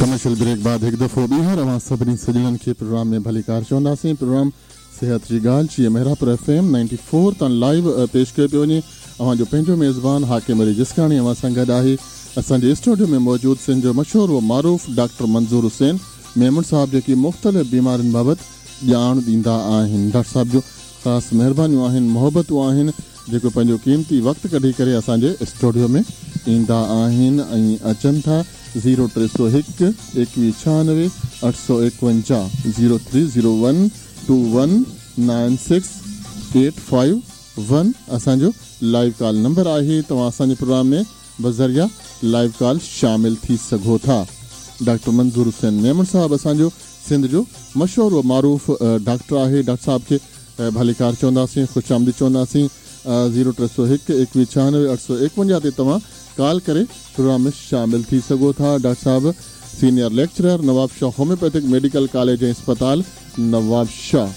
Commercial break بعد هڪ دفعو ٻيهر اوهان سڀني سڄڻن کي پروگرام ۾ ڀليڪار چونداسين. پروگرام صحت جي ڳالهه جيئن Mehrabpur F M ninety four تان لائيو پيش ڪيو پيو وڃي. اوهان جو پنهنجو ميزبان حاڪم علي جسڪاڻي اوهان سان گڏ آهي. اسان جي اسٽوڊيو ۾ موجود سنڌ جو مشهور و معروف ڊاڪٽر منظور حسين ميمڻ صاحب جيڪي مختلف بيمارين بابت ڄاڻ ڏيندا آهن. ڊاڪٽر صاحب جون خاص مهربانيون آهن محبتون آهن جيڪو پنهنجو قيمتي وقت ڪڍي ڪري اسان جي اسٽوڊيو ۾ ايندا آهن ۽ اچن ٿا zero 301 21 96 851 zero three zero one two one nine six eight five one اسان جو لائيو ڪال نمبر آهي توهان اسان جي پروگرام ۾ بذريعه لائيو ڪال شامل ٿي سگهو ٿا. ڊاڪٽر منظور حسين ميمڻ صاحب اسان جو سنڌ جو مشهور و معروف ڊاڪٽر آهي. ڊاڪٽر صاحب کي ڀليڪار چونداسين، خوش آمديد چونداسين. زيرو 301 21 96 851 تي توهان ڪال ڪري پروگرام ۾ شامل ٿي سگهو ٿا. ڊاڪٽر صاحب senior lecturer Nawabshah homeopathic medical college ۽ اسپتال نوابشاهه.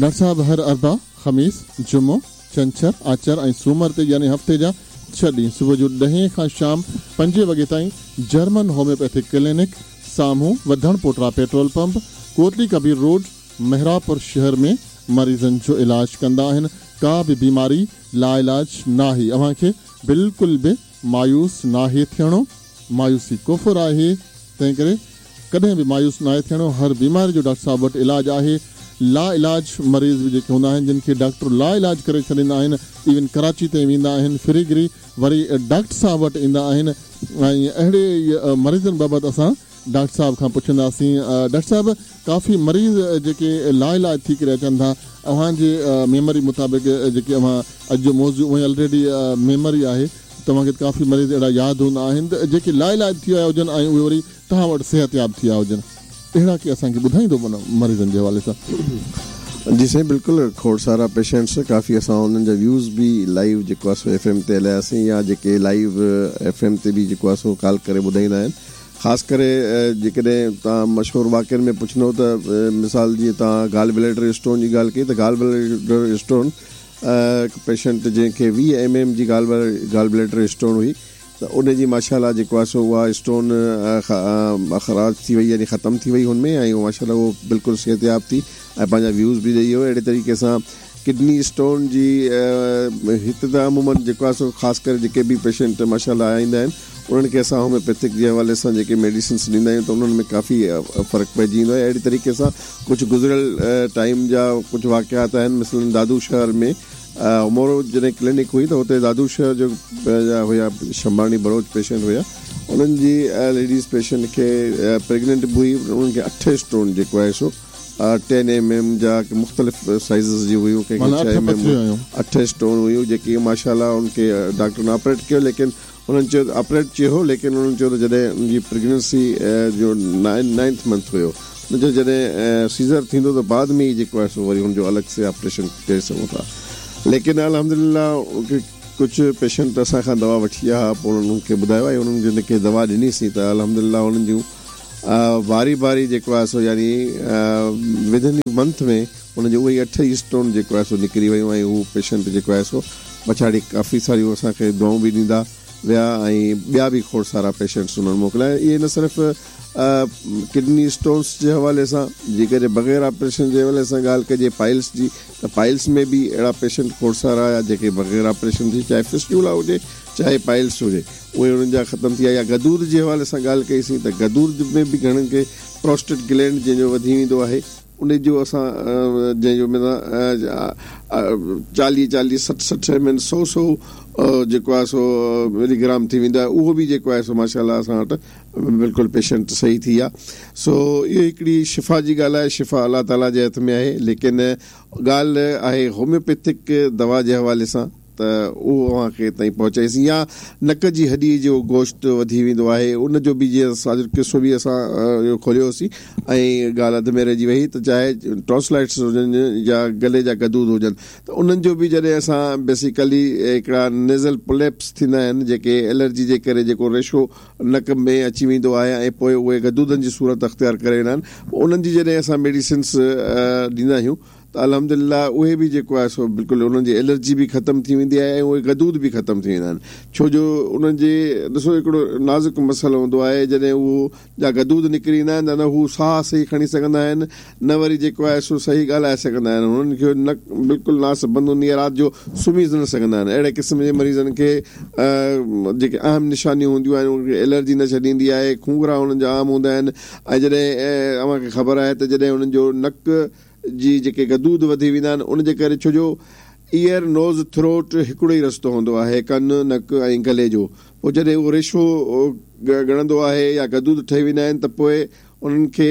ڊاڪٽر صاحب هر اربع، خميس، جمعو، ڇنڇر، آچر ۽ سومر تي يعني هفتي جا ڇهه ڏينهن صبح جو ڏهين کان شام پنجين وڳي تائين جرمن هوميوپيٿڪ ڪلينڪ سامهون وڌڻ پوٽرا پيٽرول پمپ ڪوٽلي ڪبير روڊ محرابپور شهر ۾ مريضن جو علاج ڪندا آهن ڪا به بيماري لاعلاج ناهي اوهان کي بلڪل به مايوس ناهي ٿيڻو مايوسي ڪفر آهي تنهنڪري ڪڏهن به مايوس ناهي ٿيڻو، هر بيماري جو ڊاڪٽر صاحب وٽ علاج آهي، لا علاج مريض به جيڪي هوندا آهن جن کي ڊاڪٽر لا علاج ڪري ڇڏيندا آهن ايون ڪراچي تائين ويندا آهن ڦري گهري وري ڊاڪٽر صاحب وٽ ايندا آهن ۽ اهڙي ئي مريضن بابت اسان ڊاڪٽر صاحب کان پڇنداسين ڊاڪٽر صاحب ڪافي مريض جيڪي لا علاج ٿي ڪري اچن ٿا اوهان جي ميموري مطابق جيڪي اوهان اڄ جو موضوع اونئي الريڊي ميموري آهي توهان کي ڪافي مريض اهڙا ياد هوندا آهن ته جيڪي لا علاج ٿي آيا هجن ۽ اهي وري توهان وٽ صحتياب ٿي آيا هجن اهڙا ڪي اسان کي ٻڌائيندو مريضن جي حوالي سان. جي سائين بلڪل کوڙ سارا پيشنٽس ڪافي اسان انهن جا ويوز به لائيو جيڪو آهي سو ايف ايم تي هلاياسين يا جيڪي لائيو ايف ايم تي به جيڪو آهي سو ڪال ڪري ٻڌائيندا آهن خاص ڪري جيڪڏهن توهان مشهور واقعن ۾ پڇندو ته مثال جيئن توهان گال بليڊر اسٽون جي ڳالهه ڪئي ته گال بليڊر اسٽون هڪ پيشنٽ جنهن کي 20 ايم ايم جي گال گال بليڊر اسٽون هئي ته ان جي ماشاء الله جيڪو آهي سو اها اسٽون اخراج ٿي وئي يعني ختم ٿي وئي هن ۾ ۽ ماشاء الله اهو بلڪل صحتياب ٿي ۽ پنهنجا ويوز به ڏئي ويو اهڙي طريقي سان ڪڊني اسٽون جي هت ته عمومن جيڪو آهي سو خاص ڪري جيڪي به پيشنٽ ماشاء الله ايندا آهن انهن کي اسان هوميوپيٿڪ جي حوالي سان جيڪي ميڊيسنس ڏيندا آهيون ته انهن ۾ ڪافي فرق پئجي ويندو آهي اهڙي طريقي سان ڪجهه گذريل ٽائيم جا ڪجهه واقعات آهن مثلاً دادو شهر ۾ مورو جڏهن ڪلينڪ هئي ته اتي دادو شهر جو جا هيا شمباڻي بلوچ پيشنٽ هيا انهن جي ليڊيز پيشنٽ کي پريگننٽ به هئي انهن کي اٺ اسٽون جيڪو آهي سو ٽين ايم ايم جا مختلف سائيزز جي هيون ڪنهن کي ڇهه ايم ايم اٺ اسٽون هيون جيڪي ماشاء الله ان کي ڊاڪٽرن آپريٽ ڪيو ليڪن انهن چيو ته آپريٽ چيو هو ليڪن انهن چيو ته جڏهن ان جي پريگننسي جو نائنٿ منٿ هيو انهن چيو جڏهن سيزر ٿيندو ته بعد ۾ ئي جيڪو آهي سو وري هن جو الڳ سي آپريشن ڪري سگهون ٿا ليڪن الحمدلله ڪجهه پيشنٽ اسان کان دوا وٺي ويا ها پوء انهن کي ٻڌايو ۽ انهن جن کي دوا ڏنيسين ته الحمدلله انهن جون واري باري جيڪو آهي سو يعني ودن اي منٿ ۾ ان جون اهي اٺ ئي اسٽون جيڪو آهي سو نڪري ويون ۽ هو پيشنٽ جيڪو آهي سو پڇاڙي ڪافي ساريون اسان کي دعائون به ڏيندا ويا ۽ ٻيا به کوڙ سارا پيشنٽس انهن موڪليا اهي نه صرف ڪڊني اسٽونس جي حوالي سان جيڪڏهن بغير آپريشن جي حوالي سان ڳالهه ڪجي پائلس جي ته پائلس ۾ به اهڙا پيشنٽ کوڙ سارا آيا جيڪي بغير آپريشن جي چاهي فسٽيولا هجي چاهي پائلس هجي اهي انهن جا ختم ٿي ويا يا غدود جي حوالي سان ڳالهه ڪئي سين ته غدود ۾ به گهڻن کي پروسٽيٽ گلينڊ جنهن جو وڌي ويندو آهي ان جو اسان جنهن جو معنيٰ چاليهه چاليهه سٺ سٺ ايم ايل سو سو جيڪو آهي سو ملي گرام ٿي ويندو آهي اهو به جيڪو آهي سو ماشاء الله اسان وٽ بلڪل پيشنٽ صحيح ٿي ويا سو اهو هڪڙي شفا جي ڳالهه آهي شفا الله تعاليٰ جي هٿ ۾ آهي ليڪن ڳالهه آهي هوميوپيٿڪ دوا جي حوالي سان ته اهو اوهان کي تائين پهچائيسين يا نڪ جي هڏي جو گوشت وڌي ويندو آهي ان جو به جيئن اسان جو قصو به اسان اهو کوليو هوسين ۽ ڳالهه اڌ ۾ رهجي وئي ته چاهي ٽانسلائٽس هجن يا گلي جا غدود هجن ته انهن جو به جڏهن اسان بيسيڪلي هڪڙا نيزل پوليپس ٿيندا آهن جيڪي الرجي جي ڪري جيڪو ريشو نڪ ۾ اچي ويندو آهي ۽ پوء اهي غدودن جي صورت اختيار ڪري ويندا آهن انهن جي جڏهن اسان ميڊيسنس ڏيندا آهيون. ته الحمدلله اهي به جيڪو آهي سو بلڪل انهن جي الرجي به ختم ٿي ويندي آهي ۽ اهي غدود به ختم ٿي ويندا آهن ڇو جو انهن جي ڏسو هڪڙو نازڪ مسئلو هوندو آهي جڏهن اهو جا غدود نڪري ايندا آهن ته نه هو ساهه صحيح کڻي سگهندا آهن نه وري جيڪو آهي سو صحيح ڳالهائي سگهندا آهن هنن کي نڪ بلڪل ناس بند هوندي آهي رات جو سمهي نه سگهندا آهن اهڙي قسم جي مريضن کي جيڪي اهم نشانيون هونديون آهن انهن کي الرجي نه ڇڏيندي آهي کونگهرا انهن جا عام هوندا آهن ۽ جڏهن اوهان کي خبر آهي ته جڏهن انهن جو نڪ جي جيڪي غدود وڌي ويندا آهن ان جي ڪري ڇو جو ايئر نوز ٿروٽ هڪڙو ئي رستو هوندو آهي ڪن نڪ ۽ گلي جو پوء جڏهن اهو ريشو ڳڻندو آهي يا غدود ٺهي ويندا آهن ته پوء انهن کي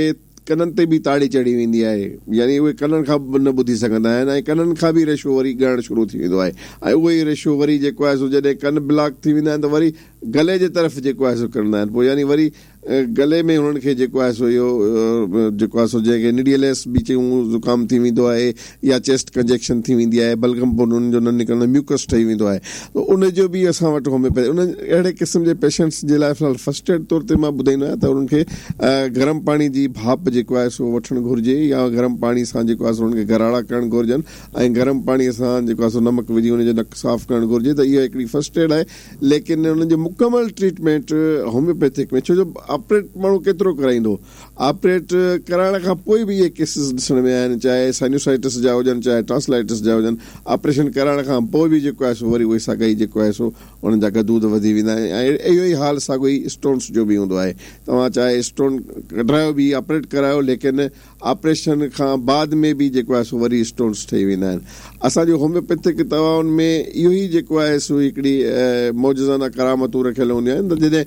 ڪنن تي به تاڙي چڙهي ويندي آهي يعني اهي ڪنن کان به نه ٻڌي سگهندا آهن ۽ ڪنن کان به ريشو وري ڳڻڻ شروع ٿي ويندو آهي ۽ اهو ئي ريشو وري جيڪو آهي سو جڏهن ڪن بلاڪ ٿي ويندا آهن ته وري گلي جي طرف جيڪو آهي سو ڪرندا آهن پوء يعني وري گلي ۾ هنن کي جيڪو آهي سو اهو جيڪو آهي سو جنهن کي نڙيليس به چئون زڪام ٿي ويندو آهي يا چيسٽ ڪنجيڪشن ٿي ويندي آهي بلغم پوء انهن جو نه نڪرندو ميوڪس ٺهي ويندو آهي ته ان جو به اسان وٽ هوميوپيٿي انهن اهڙي قسم جي پيشنٽس جي لاء في الحال فرسٽ ايڊ طور تي مان ٻڌائيندو آهيان ته انهن کي گرم پاڻي جي ڀاپ جيڪو آهي سو وٺڻ گهرجي يا گرم پاڻي سان جيڪو آهي سو انهن کي غراڙا ڪرڻ گهرجن ۽ گرم پاڻي سان جيڪو آهي سو نمڪ وجهي ان جو نڪ صاف ڪرڻ گهرجي ته اها هڪڙي فرسٽ ايڊ آهي ليڪن انهن جو مڪمل ٽريٽمينٽ هوميوپيٿڪ ۾ ڇو جو آپريٽ ماڻهو ڪيترو ڪرائيندو آپريٽ ڪرائڻ کان پوء به اهي ڪيسز ڏسڻ ۾ آيا آهن چاهي سائنوسائٽس جا هجن چاهي ٽانسلائٽس جا هجن آپريشن ڪرائڻ کان پوء به جيڪو آهي سو وري اهي ساڳا ئي جيڪو آهي سو انهن جا غدود وڌي ويندا آهن ۽ اهو ئي حال ساڳو ئي اسٽونس جو به هوندو آهي توهان چاهي اسٽون ڪڍرايو به آپريٽ ڪرايو ليڪن آپريشن کان بعد ۾ به جيڪو آهي سو وري اسٽونس ٺهي ويندا آهن. اسان جي هوميوپيٿڪ دوائن ۾ اهو ئي جيڪو آهي سو هڪڙي معجزانه ڪرامتون رکيل هونديون آهن ته جڏهن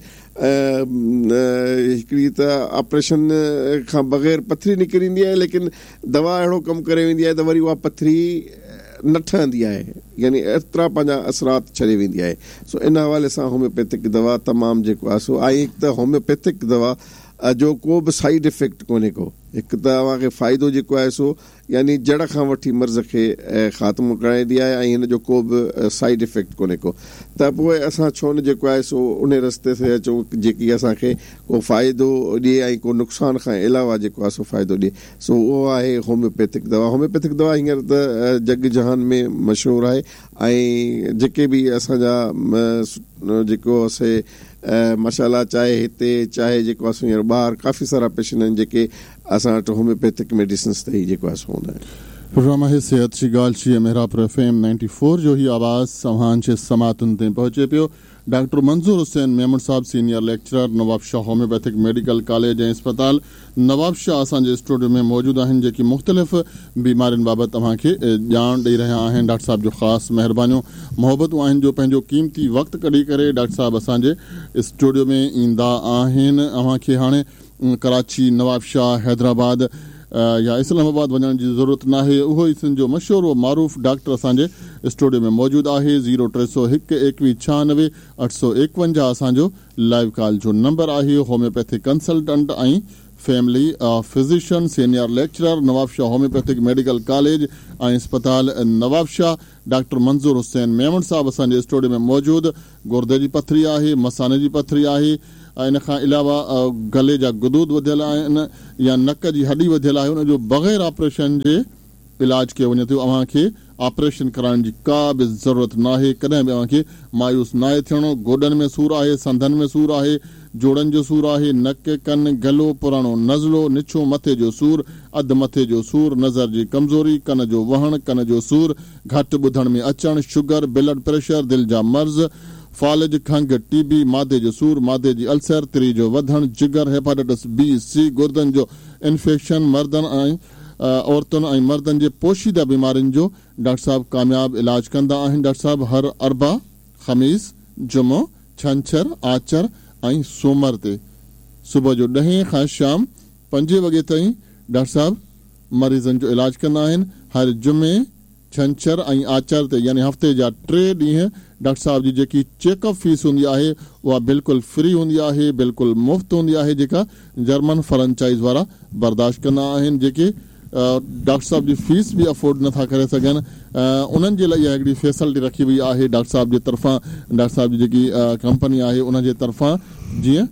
هڪڙي ته آپريشن کان بغير پٿري نڪري ايندي آهي ليڪن دوا اهڙو ڪم ڪري ويندي آهي ته وري اها پٿري نه ٺهندي آهي يعني ايترا پنهنجا اثرات ڇڏي ويندي آهي سو ان حوالي سان هوميوپيٿڪ دوا تمام جيڪو آهي سو آهي هڪ ته هوميوپيٿڪ دوا جو ڪو به سائيڊ افيڪٽ ڪونهي ڪو هڪ ته اوهان کي فائدو جيڪو آهي سو يعني جڙ کان وٺي مرض کي خاتمو ڪرائيندي آهي ۽ هن جو ڪو به سائيڊ افيڪٽ ڪونهي ڪو ته پوء اسان ڇو نه جيڪو آهي سو انهي رستي تي اچون جيڪي اسان کي ڪو فائدو ڏئي ۽ ڪو نقصان کان علاوه جيڪو آهي سو فائدو ڏئي سو اهو آهي هوميوپيٿڪ دوا هوميوپيٿڪ دوا هينئر ته جڳ جهان ۾ مشهور آهي ۽ جيڪي به اسان جا جيڪو سي ماشاء الله چاهي هتي چاهي جيڪو آهي سو هينئر ٻاهر ڪافي سارا پيشنٽ آهن جيڪي اسان وٽ هوميوپيٿڪ ميڊيسنس تي ئي جيڪو آهي سو هوندا آهن. پروگرام آهي صحت جي ڳالهه جي محرابپور ايف ايم 94 جو هي آواز اوهان جي سماعتن تائين پهچي پيو. ڊاڪٽر منظور حسين ميمڻ صاحب senior lecturer Nawabshah homeopathic medical college ۽ اسپتال نوابشاهه اسان جي اسٽوڊيو ۾ موجود آهن جيڪي مختلف بيمارين بابت اوهان کي ڄاڻ ڏئي رهيا آهن ڊاڪٽر صاحب جو خاص مهربانيون محبتون آهن جو پنهنجو قيمتي وقت ڪڍي ڪري ڊاڪٽر صاحب اسان جي اسٽوڊيو ۾ ايندا آهن اوهان کي هاڻي ڪراچي نوابشاهه حيدرآباد يا اسلام آباد وڃڻ جي ضرورت ناهي اهو ئي سنڌ جو مشهور و معروف ڊاڪٽر اسان جي اسٽوڊيو ۾ موجود آهي زيرو 301 21 96 851 اسان جو لائيو ڪال جو نمبر آهي homeopathic consultant ۽ family physician senior lecturer Nawabshah homeopathic medical college ۽ اسپتال نوابشاهه ڊاڪٽر منظور حسين ميمڻ صاحب اسان جي اسٽوڊيو ۾ موجود گردي جي پٿري آهي مثاني جي پٿري آهي ان کان علاوه گلي جا غدود وڌيل آهن يا نڪ جي هڏي وڌيل آهي ان جو بغير آپريشن جي علاج ڪيو وڃي ٿو اوهان کي آپريشن ڪرائڻ جي ڪا به ضرورت ناهي ڪڏهن به اوهان کي مايوس ناهي ٿيڻو گوڏن ۾ سور آهي سنڌن ۾ سور آهي جوڙن جو سور آهي نڪ ڪن گلو پراڻو نزلو نڇو مٿي جو سور اڌ مٿي جو سور نظر جي ڪمزوري ڪن جو وهڻ ڪن جو سور گهٽ ٻڌڻ ۾ اچڻ شگر بلڊ پريشر دل جا مرض فالج کنگهه ٽي بي معدي جو سور معدي جي السر تري جو وڌڻ جگر هيپاٽائٽس بي سي گردن جو انفيڪشن مردن ۽ عورتن ۽ مردن جي پوشيده بيمارين جو ڊاڪٽر صاحب ڪامياب علاج ڪندا آهن. ڊاڪٽر صاحب هر اربع، خميس، جمعو، ڇنڇر، آچر ۽ سومر تي صبح جو ڏهين کان شام پنجين وڳي تائين ڊاڪٽر صاحب مريضن جو علاج ڪندا آهن. هر جمعي، ڇنڇر ۽ آچر تي يعني هفتي جا ٽي ڏينهن ڊاڪٽر صاحب جي جيڪي چيڪ اپ فيس هوندي آهي اها بلڪل فري هوندي آهي بلڪل مفت هوندي آهي جيڪا جرمن فرنچائز وارا برداشت ڪندا آهن جيڪي ڊاڪٽر صاحب جي فيس به افورڊ نٿا ڪري سگهن انهن جي لاء اها هڪڙي فيسلٽي رکي وئي آهي ڊاڪٽر صاحب جي طرفان ڊاڪٽر صاحب جي جيڪي ڪمپني آهي ان جي طرفان جيئن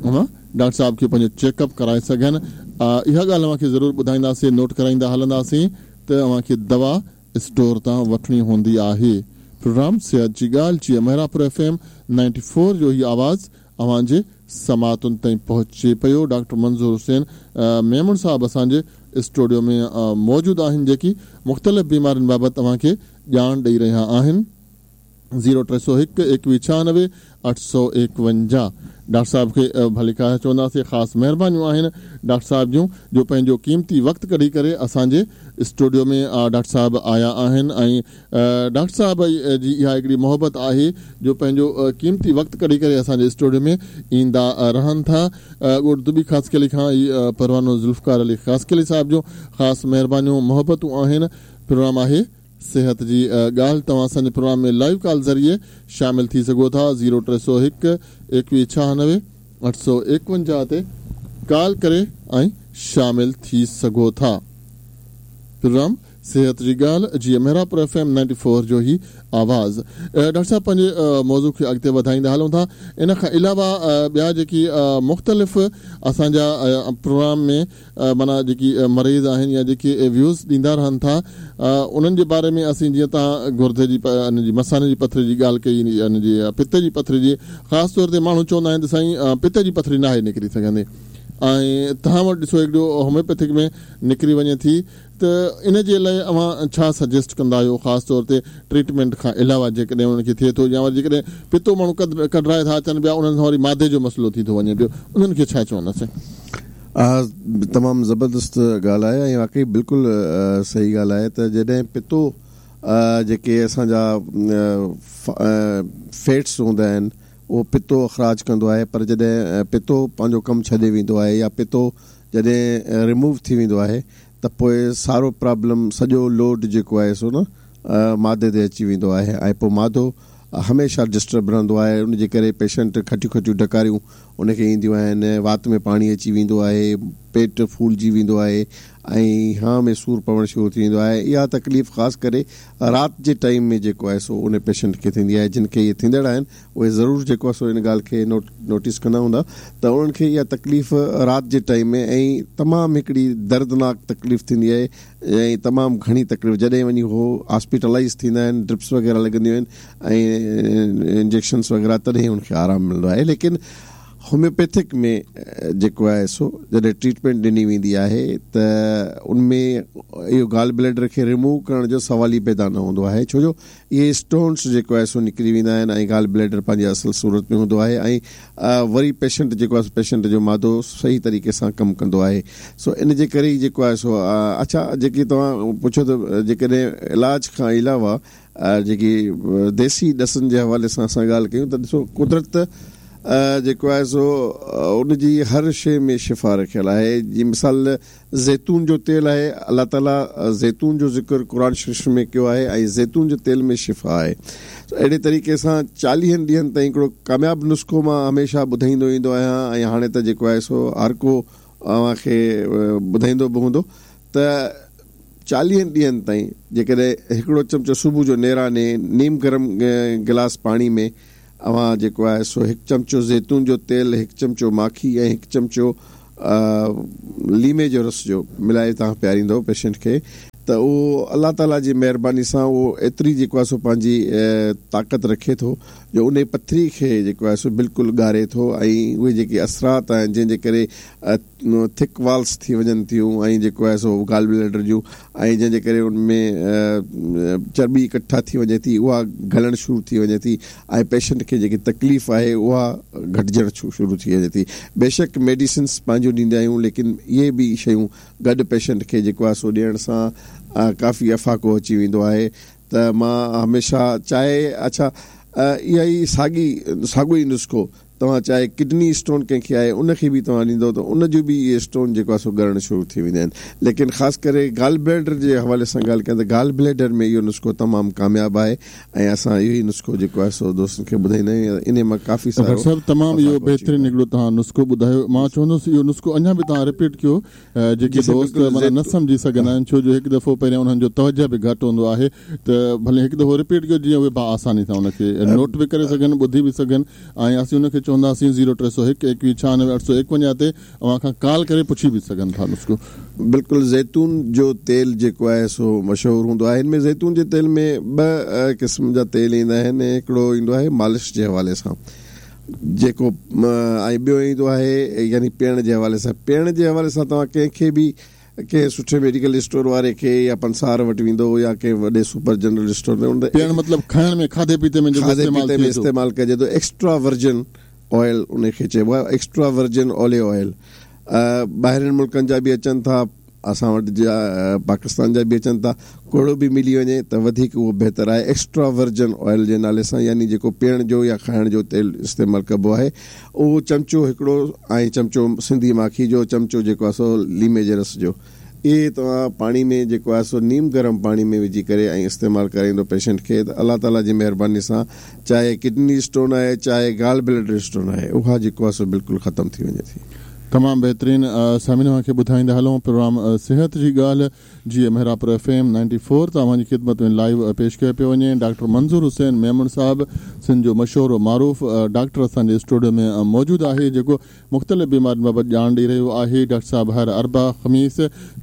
اوهان ڊاڪٽر صاحب کي پنهنجو چيڪ اپ ڪرائي سگهن اها ڳالهه اوهان کي ضرور ٻڌائينداسين نوٽ ڪرائيندا هلنداسين. ته اوهان کي دوا اسٽور تان وٺڻي هوندي آهي. پروگرام صحت جي ڳالهه جيئن مهراپور ايف ايم 94 جو هي آواز اوهان جي سماعتن تائين پهچي پيو. ڊاڪٽر منظور حسين ميمڻ صاحب اسان جي اسٽوڊيو ۾ موجود آهن جيڪي مختلف بيمارين بابت اوهان کي ڄاڻ ڏئي رهيا آهن. زيرو 301 21 96 851 ڊاڪٽر صاحب کي ڀليڪار چونداسين. خاص مهربانيون آهن ڊاڪٽر صاحب جون جو پنهنجو قيمتي وقت ڪڍي ڪري اسان جي اسٽوڊيو ۾ ڊاڪٽر صاحب آيا آهن ۽ ڊاڪٽر صاحب جي اها هڪڙي محبت آهي جو پنهنجو قيمتي وقت ڪڍي ڪري اسان جي اسٽوڊيو ۾ ايندا رهن ٿا. ڳوٺ دٻي خاصخيلي کان ئي پروانو ذوالفقار علي خاصخيلي صاحب جون خاص مهربانيون محبتون آهن. پروگرام آهي صحت جي ڳالهه. توهان اسان جي پروگرام ۾ لائيو ڪال ذريعي شامل ٿي سگهو ٿا. زيرو 301 21 96 851 تي ڪال ڪري ۽ شامل ٿي سگهو ٿا. پروگرام صحت جي ڳالهه جيئن مهراپور ايف ايم 94 جو هي آواز. ڊاڪٽر صاحب پنهنجي موضوع کي اڳتي وڌائيندا هلون ٿا. ان کان علاوه ٻيا جيڪي مختلف اسان جا پروگرام ۾ معنيٰ جيڪي مريض آهن يا جيڪي ويوز ڏيندا رهن ٿا انهن جي باري ۾ اسين جيئن توهان گردي جي ان جي مثاني جي پٿري جي ڳالهه ڪئي ان جي پتي جي پٿري جي خاص طور تي ماڻهو چوندا آهن ته سائين پتي جي پٿري ناهي نڪري سگهندي ۽ توهان وٽ ڏسو هڪڙو هوميوپيٿڪ ۾ نڪري وڃي ٿي ته ان جي لاء اوهان ڇا سجيسٽ ڪندا آهيو خاص طور تي ٽريٽمينٽ کان علاوه جيڪڏهن انهن کي ٿئي ٿو يا وري جيڪڏهن پتو ماڻهو ڪڍرائي ٿا اچن پيا انهن سان وري مادي جو مسئلو ٿي ٿو وڃي پيو انهن کي ڇا چونداسين؟ اها تمام زبردست ڳالهه آهي ۽ واقعي بلڪل صحيح ڳالهه آهي ته جڏهن پتو جيڪي اسان جا فيٽس هوندا آهن اهو پتو اخراج ڪندو آهي پر جڏهن پتو پنهنجو ڪم ڇڏي ويندو آهي يا پتو جڏهن ريموو ٿي ويندو آهي ته پوء سارو پرابلم سڄو لوڊ جيڪو آهي سو نه مادي تي اچي ويندو آهي ۽ پوء مادو هميشه ڊسٽرب رهندو آهي ان جي ڪري پيشنٽ کٽيون کٽيون ڊڪاريون ان کي اينديون آهن وات ۾ پاڻي اچي ويندو آهي پيٽ ڦولجي ويندو آهي ۽ هانء ۾ سور پوڻ شروع ٿي ويندو آهي اها تڪليف خاص ڪري رات جي ٽائيم ۾ جيڪو آهي سو ان پيشنٽ کي ٿيندي آهي جن کي اهي ٿيندڙ آهن اهي ضرور جيڪو آهي سو ان ڳالهه کي نوٽ نوٽيس ڪندا هوندا ته انهن کي اها تڪليف رات جي ٽائيم ۾ ۽ تمام هڪڙي دردناڪ تڪليف ٿيندي آهي ۽ تمام گهڻي تڪليف جڏهن وڃي هو هاسپيٽلائز ٿيندا آهن ڊرپس وغيره لڳنديون آهن ۽ انجيڪشنس وغيره تڏهن انهن کي آرام ملندو آهي ليڪن هوميوپيٿڪ ۾ جيڪو آهي سو جڏهن ٽريٽمينٽ ڏني ويندي آهي ته ان ۾ اهو گال بليڊر کي ريموو ڪرڻ جو سوال ئي پيدا نه هوندو آهي ڇو جو اهي اسٽونس جيڪو آهي سو نڪري ويندا آهن ۽ گال بليڊر پنهنجي اصل صورت ۾ هوندو آهي ۽ وري پيشنٽ جيڪو آهي سو پيشنٽ جو معدو صحيح طريقي سان ڪم ڪندو آهي سو ان جي ڪري ئي جيڪو آهي سو اڇا جيڪي توهان پڇيو ته جيڪڏهن علاج کان علاوه جيڪي ديسي ڏسن جي حوالي سان اسان ڳالهه ڪيون ته ڏسو قدرت جيڪو آهي سو ان جي هر شيء ۾ شفا رکيل آهي جي مثال زيتون جو تيل آهي، الله تعالي زيتون جو ذڪر قرآن شريف ۾ ڪيو آهي ۽ زيتون جي تيل ۾ شفا آهي. اهڙي طريقي سان چاليهن ڏينهن تائين هڪڙو ڪامياب نسخو مان هميشه ٻڌائيندو ايندو آهيان ۽ هاڻي ته جيڪو آهي سو هر ڪو اوهان کي ٻڌائيندو به هوندو ته چاليهن ڏينهن تائين جيڪڏهن هڪڙو چمچو صبح جو نيراني نيم گرم گلاس پاڻي ۾ اوهان جيڪو آهي سو هڪ چمچو زيتون جو تيل، هڪ چمچو ماکي ۽ هڪ چمچو ليمي جو رس جو ملائي توهان پياريندؤ پيشنٽ کي ته اهو الله تعالي جي مهرباني سان اهو ايتري جيڪو آهي سو پنهنجي طاقت رکي ٿو جو انهي پٿري کي جيڪو آهي سو بلڪل ڳاري ٿو ۽ اهي جيڪي اثرات آهن جنهن جي ڪري ٿڪ والس ٿي وڃن ٿيون ۽ جيڪو آهي سو گال بليڊر جون ۽ جنهن جي ڪري ان ۾ چرٻي اڪٺا ٿي وڃي ٿي اها گهلڻ شروع ٿي وڃي ٿي ۽ پيشنٽ کي جيڪي تڪليف آهي اها گهٽجڻ شروع ٿي وڃي ٿي بيشڪ ميڊيسنس پنهنجون ڏيندا آهيون ليڪن اهي به شيون گڏ پيشنٽ کي جيڪو آهي سو ڏيڻ سان ڪافي افاقو اچي ويندو آهي ته مان هميشه چاهي اڇا اها ئي ساڳي ساڳو ئي نسخو توهان چاهي ڪڊني اسٽون ڪنهن کي آهي ان کي به توهان ڏيندو ته ان جو به اهي اسٽون جيڪو آهي سو ڳرڻ شروع ٿي ويندا آهن ليڪن خاص ڪري گال بليڊر جي حوالي سان ڳالهه ڪيان ته گال بليڊر ۾ اهو نسخو تمام ڪامياب آهي ۽ اسان اهو ئي نسخو جيڪو آهي سو دوستن کي ٻڌائيندا آهيون انهي مان ڪافي ڊاڪٽر سارو صاحب تمام اهو افاقو اچي بهترين ويندو آهي. هڪڙو توهان نسخو ٻڌايو مان چوندس اهو نسخو اڃا به توهان رپيٽ ڪيو جيڪي جي سائين دوست بلڪل معنيٰ نه زيتون سمجهي سگهندا آهن ڇو جو هڪ دفعو پهريان انهن جو توجه به گهٽ هوندو آهي ته ڀلي هڪ دفعو رپيٽ ڪيو جيئن اهي باآساني سان ان کي نوٽ به ڪري سگهن ٻڌي به سگهن ۽ اسين ان کي چونداسين 0301 21 96 851 تي اوهان کان ڪال ڪري پڇي به سگهن ٿا نسخو. بلڪل زيتون جو تيل جيڪو آهي سو مشهور هوندو آهي هن ۾ زيتون جي تيل ۾ ٻه قسم جا تيل ايندا آهن هڪڙو ايندو آهي مالش جي حوالي سان جيڪو ۽ ٻيو ايندو آهي يعني پيئڻ جي حوالي سان پيئڻ جي حوالي سان توهان ڪنهن کي به ڪنهن سٺي ميڊيڪل اسٽور واري کي يا پنسار وٽ ويندو يا ڪنهن وڏي سپر جنرل اسٽور تي پيئڻ مطلب کائڻ ۾ کاڌي پيتي ۾ جيڪو کاڌي پيتي ۾ استعمال ڪجي ٿو ايڪسٽرا ورجن آئل ان کي چئبو آهي ايڪسٽرا ورجن اوليو آئل ٻاهرين ملڪن جا به اچن ٿا اسان وٽ جا پاڪستان جا به اچن ٿا ڪهڙو به ملي وڃي ته وڌيڪ اهو بهتر آهي ايڪسٽرا ورجن آئل جي نالي سان يعني جيڪو پيئڻ جو يا کائڻ جو تيل استعمال ڪبو آهي اهو چمچو هڪڙو ۽ چمچو سنڌي ماکي جو چمچو جيڪو آهي سو ليمي جي رس جو اهي توهان پاڻي ۾ جيڪو آهي سو نيم گرم پاڻي ۾ وجهي ڪري ۽ استعمال ڪرائيندو پيشنٽ کي ته الله تعالي جي مهرباني سان چاهي ڪڊني اسٽون آهي چاهي گال بليڊر اسٽون آهي اها جيڪو آهي سو بلڪل ختم ٿي وڃي ٿي. تمام بهترين سامعين اوهان کي ٻڌائيندا هلون پروگرام صحت جي ڳالهه جي Mehrabpur F M ninety four تان اوهان جي خدمت ۾ لائيو پيش ڪيو پيو وڃي ڊاڪٽر منظور حسين ميمڻ صاحب سنڌ جو مشهور و معروف ڊاڪٽر اسان جي اسٽوڊيو ۾ موجود آهي جيڪو مختلف بيمارين بابت ڄاڻ ڏئي رهيو آهي. ڊاڪٽر صاحب هر اربع، خميس،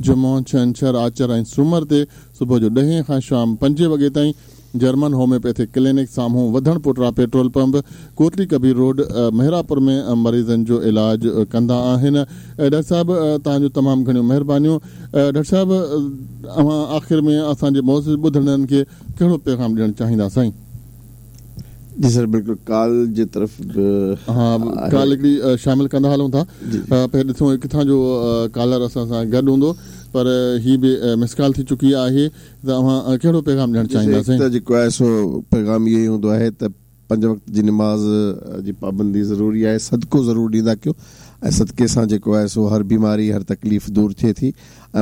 جمعو، ڇنڇر، آچر ۽ سومر تي صبح جو ڏهين کان شام پنجين وڳي تائين جرمن هوميوپيٿڪ ڪلينڪ سامهون وڌڻ پوٽرا پيٽرول پمپ، ڪوٽلي ڪبير روڊ، مهراپور ۾ مريضن جو علاج ڪندا آهن. ڊاڪٽر صاحب توهان جون تمام گهڻيون مهربانيون. ڊاڪٽر صاحب اوهان آخر ۾ اسان جي معزز ٻڌندڙن کي ڪهڙو پيغام ڏيڻ چاهيندا سائين؟ جي سر بلڪل ڪال جي طرف به ها ڪال هڪڙي شامل ڪندا هلون ٿا پهرين ڏسون ڪٿان جو ڪالر اسان سان گڏ هوندو پر هي به مس ڪال ٿي چڪي آهي ته اوهان ڪهڙو پيغام ڏيڻ چاهيندا سائين. ته جيڪو آهي سو پيغام اهو ئي هوندو آهي ته پنج وقت جي نماز جي پابندي ضروري آهي صدقو ضرور ڏيندا ڪيو ۽ صدقي سان جيڪو آهي سو هر بيماري هر تڪليف دور ٿئي ٿي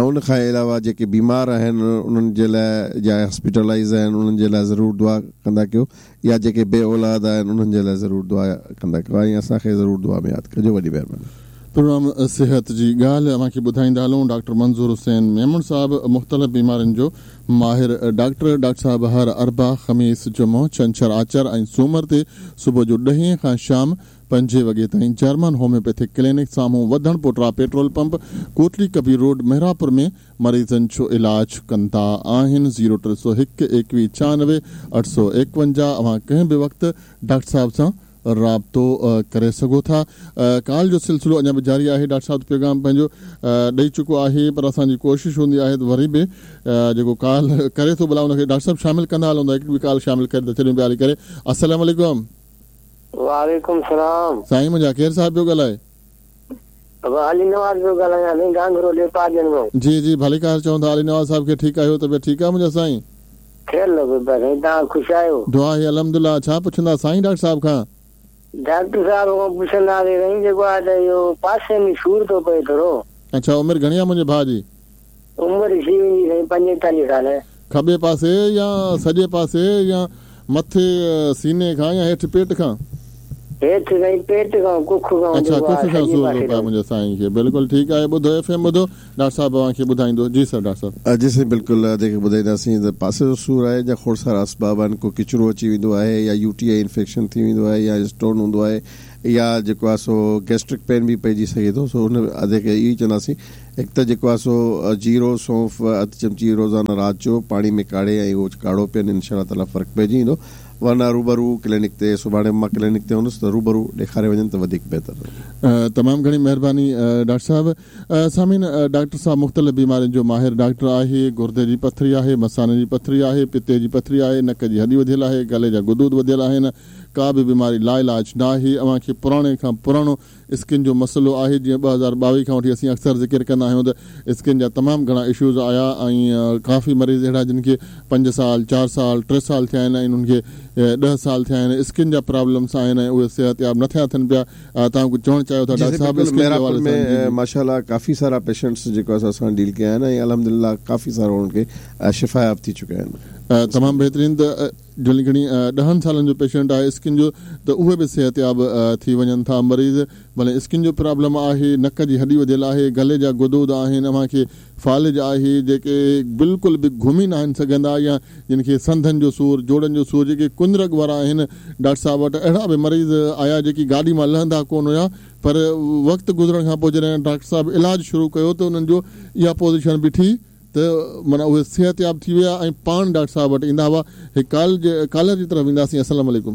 ۽ ان کان علاوه جيڪي بيمار آهن انهن جي لاء يا هاسپيٽلائيز آهن انهن جي لاء ضرور دعا ڪندا ڪيو يا جيڪي بي اولاد آهن انهن جي لاء ضرور دعا ڪندا ڪيو ۽ اسان کي ضرور دعا ۾ ياد ڪجو وڏي مهرباني. پروگرام صحت جي ڳالهه اوهان کي ٻڌائيندا هلون ڊاڪٽر منظور حسين ميمڻ صاحب مختلف بيمارين جو ماهر ڊاڪٽر ڊاڪٽر صاحب هر اربع، خميس، جمعو، ڇنڇر، آچر ۽ سومر تي صبح جو ڏهين کان شام پنجين وڳي تائين جرمن هوميوپيٿڪ ڪلينڪ سامهون وڌڻ پوٽرا petrol pump Kotli Kabir road Mehrapur ۾ مريضن جو علاج ڪندا آهن زيرو 301 21 96 851 اوهان ڪنهن به وقت ڊاڪٽر صاحب سان رابطو ڪري سگهو ٿا ڪال جو سلسلو اڃا به جاري آهي ڊاڪٽر صاحب پيغام پنهنجو ڏئي چڪو آهي پر اسان جي ڪوشش هوندي آهي ته وري به جيڪو ڪال ڪري ٿو ڀلا ان کي ڊاڪٽر صاحب شامل ڪندا هلون ٿا هڪ ٻي ڪال شامل ڪري ٿا ڇڏيون پيا هلي ڪري السلام عليڪم. وعليڪم سلام. سائين منهنجا ڪير صاحب پيو ڳالهائي. بابا علي نواز پيو ڳالهايان سائين گانگهرو ڏيپاجن مان. جي جي ڀليڪار چئون ٿا علي نواز صاحب کي ٺيڪ آهيو طبيعت ٺيڪ آهي منهنجا سائين. خير لڳو پيو سائين توهان خوش آهيو. دعا آهي الحمدلله ڇا پڇندا سائين ڊاڪٽر صاحب کان. ڊاڪٽر صاحب کان پڇنداسين سائين جيڪو آهي ته اهو پاسي ۾ سور ٿو پئي ٿورو. اڇا عمر گهڻي آهي منهنجي ڀاء جي. عمر ٿي ويندي سائين 45 سال. کٻي پاسي يا سڄي پاسي يا مٿي سيني کان يا هيٺ پيٽ کان؟ هيٺ سائين پيٽ کان ڪک کان اڇا ڪک کان سور ٿو پئي منهنجي سائين کي بلڪل ٺيڪ آهي ٻڌو ايف ايم ٻڌو ڊاڪٽر صاحب اوهان کي ٻڌائيندو جي سر ڊاڪٽر صاحب. جي سائين بلڪل ادي کي ٻڌائينداسين ته پاسي جو سور آهي جا کوڙ سارا اسباب آهن ڪو ڪچرو اچي ويندو آهي يا يو ٽي I infection ٿي ويندو آهي يا اسٽون هوندو آهي يا جيڪو آهي سو گيسٽرڪ پين به پئجي سگهي ٿو سو ان ادي کي اهو ئي چونداسين هڪ ته جيڪو آهي سو جيرو، سونف، اڌ چمچي روزانه رات جو پاڻي ۾ ڪاڙهي ۽ اهو ڪاڙهو پين انشاء الله تعالي فرق پئجي ويندو ورنه روبرو ڪلينڪ تي سڀاڻي به مان ڪلينڪ تي هوندس ته روبرو ڏيکاري وڃن ته وڌيڪ بهتر رهندو. تمام گهڻي مهرباني ڊاڪٽر صاحب. سامعين ڊاڪٽر صاحب مختلف بيمارين جو ماهر ڊاڪٽر آهي گردي جي پٿري آهي مثاني جي پٿري آهي پتي جي پٿري آهي نڪ جي هڏي وڌيل آهي گلي جا غدود وڌيل آهن ڪا به بيماري لاعلاج ناهي اوهان کي پراڻي کان پراڻو اسڪن جو مسئلو آهي جيئن 2022 کان وٺي اسين اڪثر ذڪر ڪندا آهيون ته اسڪن جا تمام گهڻا اشوز آيا ۽ ڪافي مريض اهڙا جن کي پنج سال چار سال ٽي سال ٿيا آهن ۽ انهن کي ڏهه سال ٿيا آهن اسڪن جا پرابلمس آهن ۽ اهي صحتياب نه ٿيا ٿين پيا توهان ڪجهه چوڻ چاهيو ٿا جي ڊاڪٽر سائين صاحب بلڪل اسڪن جي مهراپور حوالي ۾ سان جي جي. ماشاءالله ڪافي سارا پيشنٽس جيڪو اسان سان ڊيل ڪيا آهن ۽ الحمدلله ڪافي سارا انهن کي شفاياب ٿي چڪا آهن. تمام بهترين ته جهڙي گهڻي ڏهن سالن جو پيشنٽ آهي اسڪن جو ته اهي به صحتياب ٿي وڃن ٿا مريض ڀلي اسڪن جو پرابلم آهي، نڪ جي هڏي وڌيل آهي، گلي جا غدود آهن، اوهان کي فالج آهي، جيڪي بلڪل به گهمي ناهن سگهندا يا جن کي سنڌن جو سور، جوڙن جو سور، جيڪي ڪنرڳ وارا آهن، ڊاڪٽر صاحب وٽ اهڙا به مريض آيا جيڪي گاڏي مان لهندا ڪونه هيا پر وقت گذرڻ کان پوء جڏهن ڊاڪٽر صاحب علاج شروع ڪيو ته انهن جو اها پوزيشن بيٺي ته معنيٰ اهي صحتياب ٿي ويا ۽ پاڻ ڊاڪٽر صاحب وٽ ايندا هئا. هڪ ڪال جي ڪالر جي طرف وينداسين السلام عليڪم.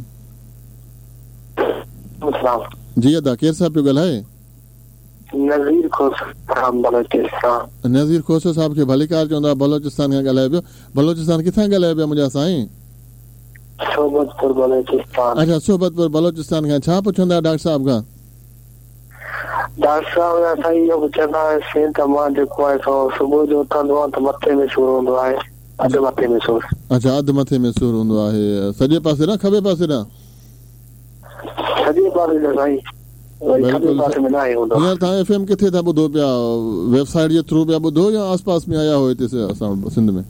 السلام. جي ادا ڪير صاحب پيو ڳالهائي؟ نذير کوسو صاحب بلوچستان. نذير کوسو صاحب کي ڀليڪار چوندا بلوچستان کان ڳالهايو پيو بلوچستان ڪٿان ڳالهايو پيا منهنجا سائين؟ صحبت پور بلوچستان. اڇا صحبت پور بلوچستان کان ڇا پڇندا ڊاڪٽر صاحب کان؟ ڊاڪٽر صاحب اسان اهو پڇندا هئاسين ته مان جيڪو آهي سو صبح جو اٿندو آهيان ته مٿي ۾ سور هوندو آهي اڌ مٿي ۾ سور. اڇا اڌ مٿي ۾ سور هوندو آهي سڄي پاسي ڏانهن کٻي پاسي ڏانهن؟ سڄي پاسي ڏانهن سائين وري کٻي پاسي ۾ ناهي هوندو. هينئر توهان ايف ايم ڪٿي ٿا ٻڌو پيا ويب سائيٽ جي ٿرو پيا ٻڌو يا آس پاس ۾ آيا هو هتي اسان وٽ سنڌ ۾؟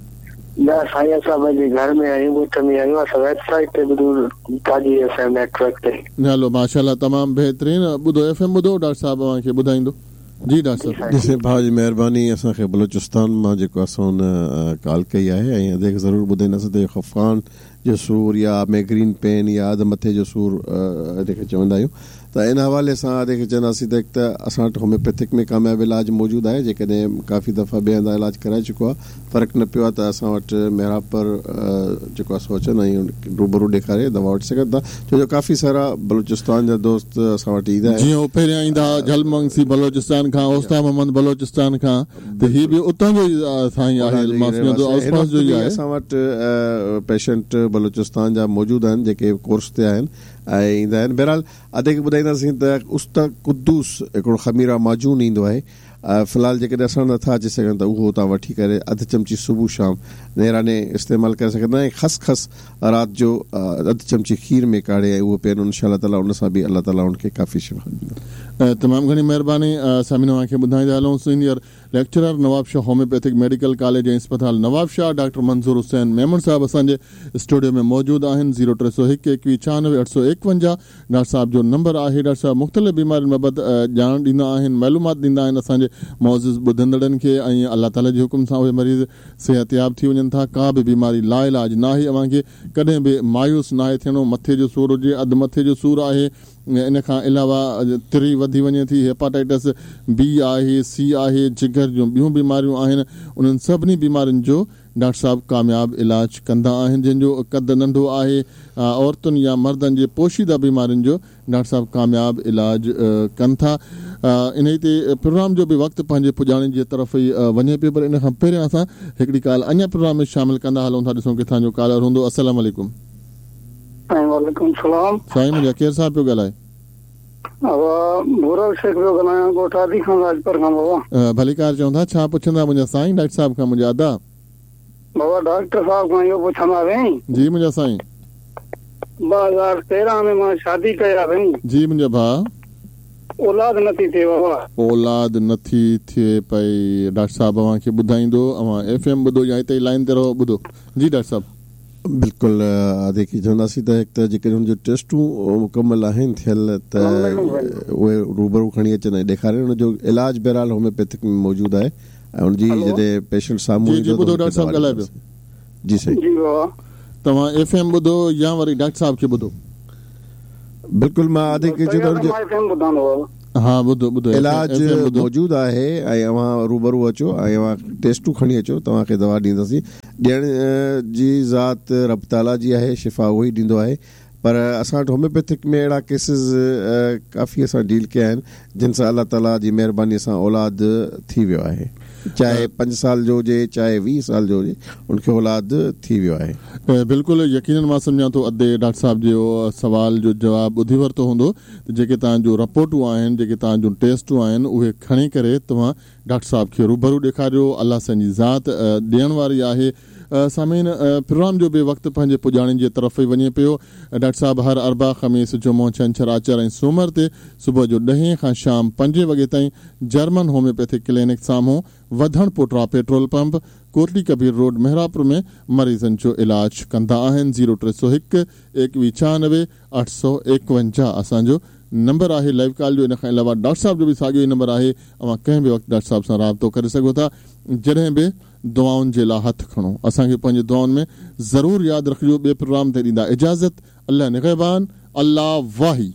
نه سائين اسان پنهنجي گهر ۾ آهيون ڳوٺ ۾ آهيون اسان ويب سائيٽ تي ٻڌون Taji F M net work تي. هلو ماشاءالله تمام بهترين ٻڌو ايف ايم ٻڌو ڊاڪٽر صاحب اوهان کي ٻڌائيندو جي ڊاڪٽر صاحب. جي سائين ڀاء جي مهرباني اسان کي بلوچستان مان جيڪو آ سو ان ڪال ڪئي آهي ۽ ادي کي ضرور ٻڌائينداسين ته اهو خفقان جو سور يا ميگرين پين يا اڌ مٿي جو سور ادي کي چوندا آهيون ته ان حوالي سان ادي کي چونداسين ته هڪ ته اسان وٽ هوميوپيٿڪ ۾ ڪامياب علاج موجود آهي جيڪڏهن ڪافي دفعا ٻئي هنڌان علاج ڪرائي چڪو آهي فرق نه پيو آهي ته اسان وٽ محرابپور جيڪو آهي سو اچن ۽ روبرو ڏيکاري دوا وٺي سگهن ٿا ڇو جو ڪافي سارا بلوچستان جا دوست اسان وٽ ايندا آهن. جيئن هو پهريان ايندا هئا جهل مگسي بلوچستان کان اوستا محمد بلوچستان کان ته هي به اتان جو ئي سائين آهي مان سمجهان ٿو آس پاس جو ئي آهي. اسان وٽ پيشنٽ بلوچستان جا موجود آهن جيڪي ڪورس تي آهن ۽ ايندا آهن بهرحال ادي کي ٻڌائينداسين ته است قدوس هڪڙو خميره معجون ايندو آهي في الحال جيڪڏهن اسان وٽ نٿا اچي سگهن ته اهو توهان وٺي ڪري اڌ چمچي صبح شام نيراني استعمال ڪري سگهندا ۽ خس خس رات جو اڌ چمچي کير ۾ ڪاڙهي ۽ اهو پيئن انشاء الله تعالي ان سان به الله تعالي ان کي ڪافي شفا ڏيندو. تمام گهڻي مهرباني سامعين اوهان کي ٻڌائيندا هلون senior lecturer Nawabshah homeopathic medical college ۽ اسپتال نوابشاهه ڊاڪٽر منظور حسين ميمڻ صاحب اسان جي اسٽوڊيو ۾ موجود آهن زيرو 301 21 96 851 ڊاڪٽر صاحب جو نمبر آهي ڊاڪٽر صاحب مختلف بيمارين بابت ڄاڻ ڏيندا آهن معلومات ڏيندا آهن اسان جي معزز ٻڌندڙن کي ۽ الله تعالي جي حڪم سان اهي مريض صحتياب ٿي وڃن ٿا ڪا به بيماري لاعلاج ناهي اوهان کي ڪڏهن به مايوس ناهي ٿيڻو مٿي جو سور هجي اڌ مٿي جو سور آهي ان کان علاوه تري وڌي وڃي ٿي، هيپاٽائٽس بي آهي، سي آهي، جگر جون ٻيون بيماريون آهن، انهن سڀني بيمارين جو ڊاڪٽر صاحب ڪامياب علاج ڪندا آهن، جنهن جو قد ننڍو آهي، عورتن يا مردن جي پوشيده بيمارين جو ڊاڪٽر صاحب ڪامياب علاج ڪن ٿا. انهي تي پروگرام جو به وقت پنهنجي پڄاڻي جي طرف ئي وڃي پيو پر ان کان پهريان اسان هڪڙي ڪال اڃا پروگرام ۾ شامل ڪندا هلون ٿا ڏسون ڪٿان جو ڪالر هوندو السلام عليڪم. سائين وعليڪم السلام. سائين منهنجا ڪير صاحب پيو ڳالهائي؟ بابا ڀورل شيخ پيو ڳالهايان ڳوٺ آدي خان راڄپر کان بابا. ڀليڪار چون ٿا ڇا پڇندا منهنجا سائين ڊاڪٽر صاحب کان منهنجا ادا. بابا ڊاڪٽر صاحب کان اهو پڇنداسين. جي منهنجا سائين. 2013 ۾ مان شادي ڪئي آ سائين. جي منهنجا ڀاء. اولاد نٿي ٿئي بابا. اولاد نٿي ٿئي پئي ڊاڪٽر صاحب اوهان کي ٻڌائيندو اوهان ايف ايم ٻڌو يا هتي ئي لائين تي رهو ٻڌو جي ڊاڪٽر صاحب. بلڪل ادي کي چونداسين ته هڪ ته جيڪڏهن هن جون ٽيسٽون مڪمل آهن ٿيل ته اهي روبرو کڻي اچن ۽ ڏيکارين ان جو علاج بهرحال هوميوپيٿڪ ۾ موجود آهي ۽ ان جي جڏهن پيشنٽ سامهون ايندو ته ڊاڪٽر صاحب ڳالهائي پيو جي سائين جي بابا توهان ايف ايم ٻڌو يا وري ڊاڪٽر صاحب کي ٻڌو بلڪل مان ادي کي چوندو ايف ايم ٻڌان ٿو ها ٻڌو ٻڌو علاج موجود آهي ۽ اوهان روبرو اچو ۽ اوهان ٽيسٽون کڻي اچو توهان کي دوا ڏينداسين ڏيڻ جي ذات رب تعاليٰ جي آهي، شفا اهو ئي ڏيندو آهي، پر اسان وٽ هوميوپيٿڪ ۾ اهڙا ڪيسز ڪافي اسان ڊيل ڪيا آهن، جن سان الله تعاليٰ جي مهرباني سان اولاد ٿي ويو آهي، چاهي پنج سال جو هجي، چاهي 20 سال جو هجي، ان کي اولاد ٿي ويو آهي. بلڪل يقينن مان سمجهان ٿو ادي ڊاڪٽر صاحب جي سوال جو جواب ٻڌي ورتو هوندو ته جيڪي توهان جون رپورٽون آهن جيڪي توهان جون ٽيسٽون آهن اهي کڻي ڪري توهان ڊاڪٽر صاحب کي روبرو ڏيکاريو الله سائين جي ذات ڏيڻ واري آهي سامعين پروگرام جو به وقت پنهنجي پڄاڻي جي طرف ئي وڃي پيو ڊاڪٽر صاحب هر اربع خميس جمعو ڇنڇر آچر ۽ سومر تي صبح جو ڏهين کان شام پنجين وڳي تائين جرمن هوميوپيٿڪ ڪلينڪ سامهون وڌڻ پوٽرا petrol pump Kotli Kabir road Mehrabpur ۾ مريضن جو علاج ڪندا آهن زيرو 301 21 96 851 اسان جو نمبر آهي لائيو ڪال جو ان کان علاوه ڊاڪٽر صاحب جو به ساڳيو ئي نمبر آهي اوهان ڪنهن به وقت ڊاڪٽر صاحب سان رابطو ڪري سگهو ٿا جڏهن به دعائن جي لا هٿ کڻو اسان کي پنهنجي دعائن ۾ ضرور ياد رکجو ٻئي پروگرام تائين ڏيندا اجازت الله نگهبان الله واهي.